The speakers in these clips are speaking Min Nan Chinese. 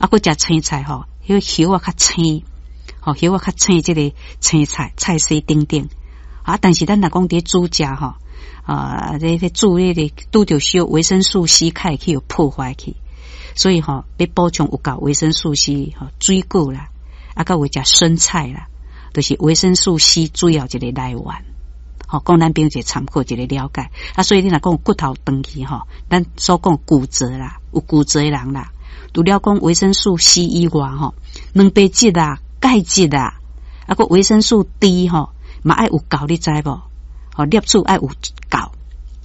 啊，閣食青菜吼，彼個葉仔較青，吼葉仔較青，這个青菜菜絲等等。啊，但是咱若講佇煮食吼，啊，咧咧煮彼个拄著小維生素 C 較會去予破壞去，所以吼，欲補充有夠維生素 C 吼，水果啦，啊，閣有食生菜啦，就是維生素 C 主要一个來源。吼，供咱朋友一个參考，一个了解。啊，所以你若講骨頭斷去吼，咱所講骨折啦，有骨折的人啦，除了講維生素 C 以外吼，蛋白質啊、鈣質啊，啊，閣維生素 D 吼，嘛愛有夠，你知無？吼，攝取愛有夠，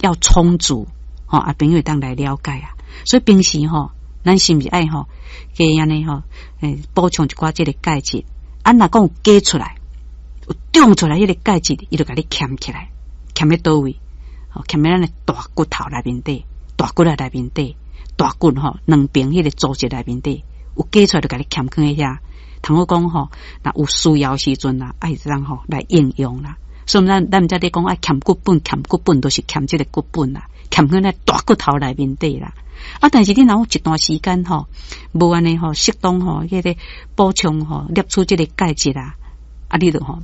要充足，吼，啊，朋友會當來了解啊。所以平時吼，咱是毋是愛吼，加按呢吼，補充一寡這个鈣質？啊，若講有加出來，有長出來彼个鈣質，伊就共你儉起來，儉佇佗位？吼，儉佇咱的大骨頭內面底，大骨仔內面底，大骨吼兩邊彼个組織內面底，有加出來就共你儉囥佇遐。通好講吼，若有需要時陣啊，愛當吼來應用啦。所以咱毋才咧講愛儉骨本，儉骨本都是儉這个骨本啦，儉囥佇大骨頭內面底啦。啊，但是你若有一段時間吼，無按呢吼，適當吼，彼个補充吼，攝取這个鈣質啊，啊，你就吼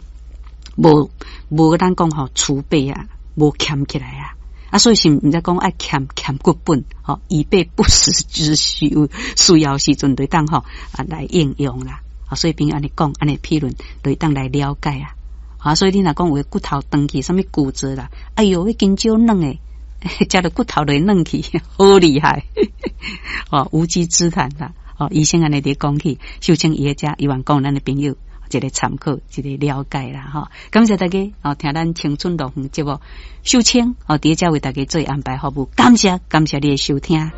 無無咱講吼儲備啊，無儉起來啊，啊，所以是毋才講愛儉儉骨本，吼，以備不時之需，有需要時陣就當吼啊來應用啦。啊，所以朋友按呢講，按呢批論，就當來了解啊。啊，所以你若講有的骨頭斷去，啥物骨折啦，哎喲，彼真少軟的，食著骨頭就會軟去，好厲害！哦，無稽之談啦。哦，醫生按呢佇講起，秀清伊咧遮，希望講咱的朋友一个參考，一个了解啦，吼。感謝大家哦，聽咱青春樂園節目，秀清哦，佇遮為大家做安排服務，感謝感謝你的收聽。